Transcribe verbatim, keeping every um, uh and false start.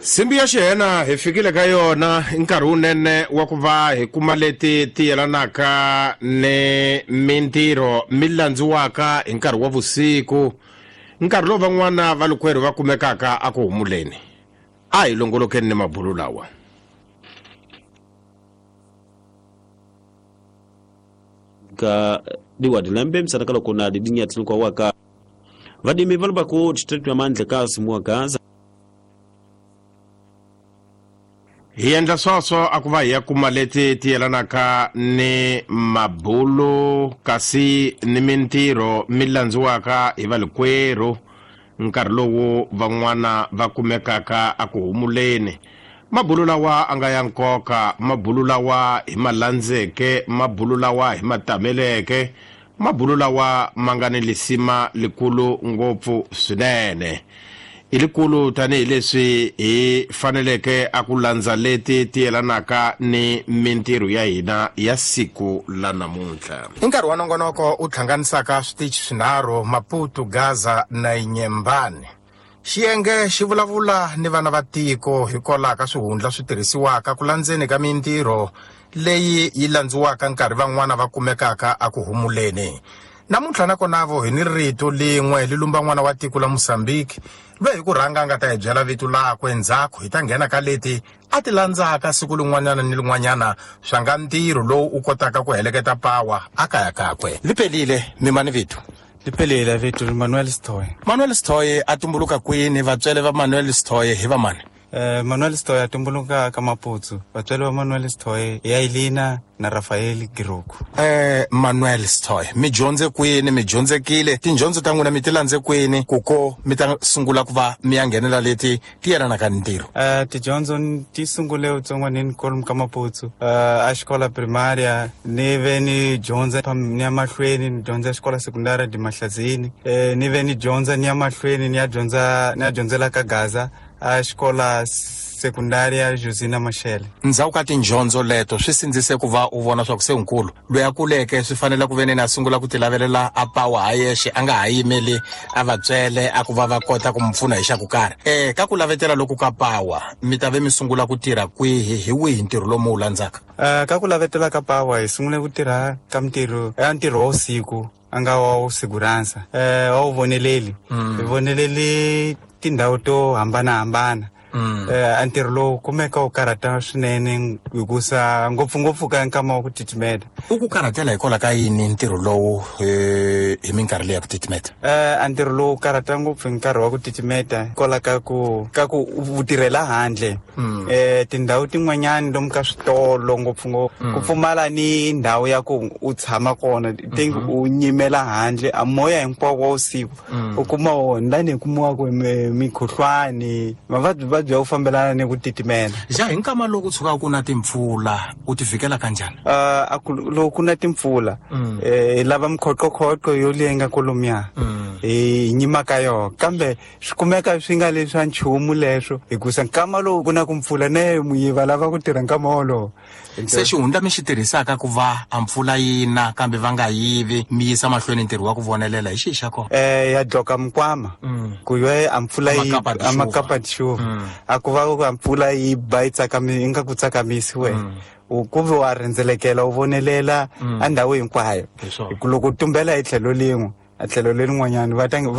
Simbi ya xihena hi fikile ka yona i nkarhi wunene wa ku va hi kuma leti ti yelanaka ni mintirho mi landziwaka hi nkarhi wa vusiku, nkarhi lowu van'wana va lukwerhu va kumekaka a ku humuleni. A hi longolokeni ni mabulu lawa. Ka diwadi lembe msanaka loko na didinya tsinko waka vadimi va ku district ya Mandla ka simuwa Gaza. Hi endla sweswo a ku va hi ya kuma leti ti yelanaka ni mabulu kasi ni mintirho mi landziwaka hi valikwerhu nkarhi lowu van'wana va kumekaka a ku humuleni. Mabulu lawa a nga ya nkoka, mabulu lawa hi ma landzeke, mabulu lawa hi ma tameleke, mabulu lawa ma nga ni lisima likulu ngopfu swinene. I likulu tanihileswi hi faneleke a ku landza leti ti yelanaka ni mintirho ya hina ya siku la namuntlha. I nkarhi wa nongonoko u hlanganisaka switichi swinharhu, Maputo, Gaza na Inyembani. Xiyenge xi vulavula ni vana va tiko hikwalaho ka swihundla swi tirhisiwaka ku landzeni ka mintirho leyi yi landziwaka nkarhi van'wana va kumekaka a ku humuleni. Namuntlha nakona vo hi ni rito lin'we li lumba n'wana wa tiko la Mozambique loyi hi ku rhanga a nga ta hi byela vito lakwe ndzhaku hi ta nghena ka leti a ti landzaka siku lin'wanyana ni lin'wanyana swa nga ntirho lowu u kotaka ku heleketa pawa a kaya kakwe. Liphelile mimani vito? Liphelile vito Manuel Sithoye. Manuel Sithoye a tumbuluka kwini? Vatswele va Manuel Sithoye hi va mani? Eh, Manuel Sithoye a tumbuluka ka Maputo. Vatswele va Manuel Sithoye ya Elina na Rafael Giroku. Eh, Manuel Sithoye, mi dyondze kwini? Mi dyondzekile? Tindyondzo ta n'wina mi ti landze kwini ku ko mi ta sungula ku va mi ya nghenela leti ti yelanaka ni ntirho? Eh, tidyondzo ti sungule utsongwanini kwalomu ka Maputo. Eh, a xikola primaria ni ve ni dyondza ni ya mahlweni ni dyondza xikola sekundari di Mahlazini. Eh, ni ve ni dyondza ni ya mahlweni ni ya dyondza ni ya dyondzela ka Gaza a xikola sekundaria Josina Machel. Ndzhaku ka tindyondzo leto swi sindzise ku va u vona swa ku se nkulu loyi a kuleke swi fanele ku ve ni a sungula ku ti lavelela a pawa ha yexe, a nga ha yimeli a vatswele a ku va va kota ku mu pfuna hi xa ku karhi. Eh, ka ku lavetela loku ka pawa mi ta ve mi sungula ku tirha kwihi, hi wihi ntirho lowu mi wu landzaka? Eh, ka ku lavetela ka pawa hi sungule ku tirha ka mintirho ya ntirho wa vusiku a nga wa segurança, eh, wa wu voneleli. Hi voneleli tindhawu to hambanahambana. Mm. Eh, ntirho lowu kumeka wu karhata swinene hikusa ngopfungopfu ka nkama wa ku titimeta. U ku karhatela hikwalaho ka yini ntirho lowu eh, hi minkarhi leyi ya ku titimeta? Eh, ntirho lowu karhata ngopfu hi nkarhi wa ku titimeta hikwalaho ka ku ka ku u tirhela handle. Mm. Eh, tindhawu tin'wanyani lomu ka switolo ngopfungopfu Mm. ku pfumala ni ndhawu ya ku u tshama kona, think Mm-hmm. u nyimela handle a moya hinkwawo wa vusiku Mm. u kuma wona lani hi kumiwaka mikhuhlwani, mavabyi vabyi ya ku fambelana ni ku titimela. Ja, hi nkama lowu ku tshukaka ku na timpfula u ti fikela kanjhani? Eh, a ku, loko ku na timpfula, Mm. eh, hi lava mikhoqoqhoqo yo leyi nga kolomiya. Mm. Hi nyima ka yona, kambe swi kumeka swi nga leswi swa nchumu leswo hikusa nkama lowu ku na ku mpfula ne muyiva lava ku tirha nkama wolowo. Se xihundla mi xi tirhisaka ku va a mpfula yi na kambe va nga yivi mi yisa mahlweni ntirho wa ku vonelela hi xihi xa kona? Eh, ya dloka mikwama. Mm. Ku yo a mpfula yi Amakapa a makapa tixuva. Mm. A ku va ku a mpfula yi ba yi tsakami, yi nga ku tsakamisi wena. Mm. U ku ve wa rhendzelekela u vonelela Mm. a ndhawu hinkwayo. Hi swona. Hi ku loko u tumbela hi tlhelo lin'we, a tlhelo lerin'wanyani va ta va